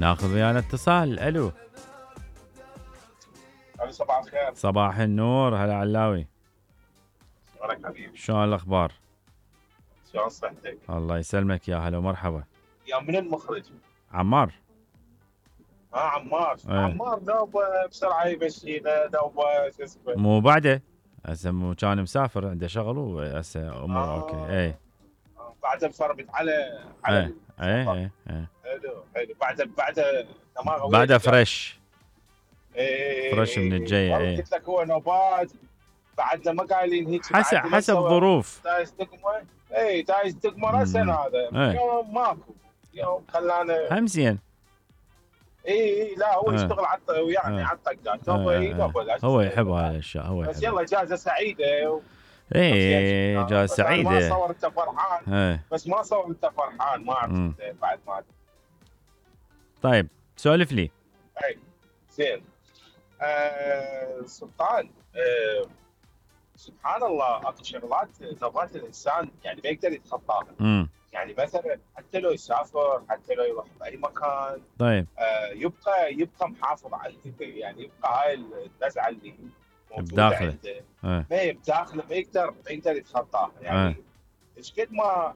ناخذ ويانا اتصال. الو صباح الخير. صباح النور. هلا علاوي، شلونك حبيبي؟ شلون الاخبار؟ شلون صحتك؟ الله يسلمك، يا هلا ومرحبا. يا من المخرج؟ عمار. عمار. ايه. عمار نوبه بسرعه يمشينا، نوبه شو اسمه. مو بعده هسه كان مسافر عنده شغل وهسه اموره اوكي. ايه بعد انفرمت على ايه السفر. ايه. حلو بعد دماغه بعده فريش. ايه فريش من الجايه. ايه قلت لك هو نوبات بعدنا ما قايلين هيك. حسب ظروف. دايس دقمه. اي دايس دقمه راسا هذا. ايه. يوم ماكو، يوم خلانا هم زين. اي لا هو يشتغل يعني على الطقات. هو يحب هاي الاشياء. هو بس يحب. يلا اجازه سعيده. ايه اجازه سعيده. ما صور انت فرحان. ايه. بس ما صور انت فرحان، ما اعرف بعد ما. طيب سولف لي. اي زين. سلطان. سبحان الله اكو شغلات ذرات الانسان يعني ما يقدر يتخطاها. يعني مثلا حتى لو يسافر، حتى لو يروح باي مكان. طيب. يبقى محافظ على يعني يبقى هاي النزعه اللي موجوده بداخله. عنده. ما بداخله ما يقدر يتخطاها يعني. ايش قد ما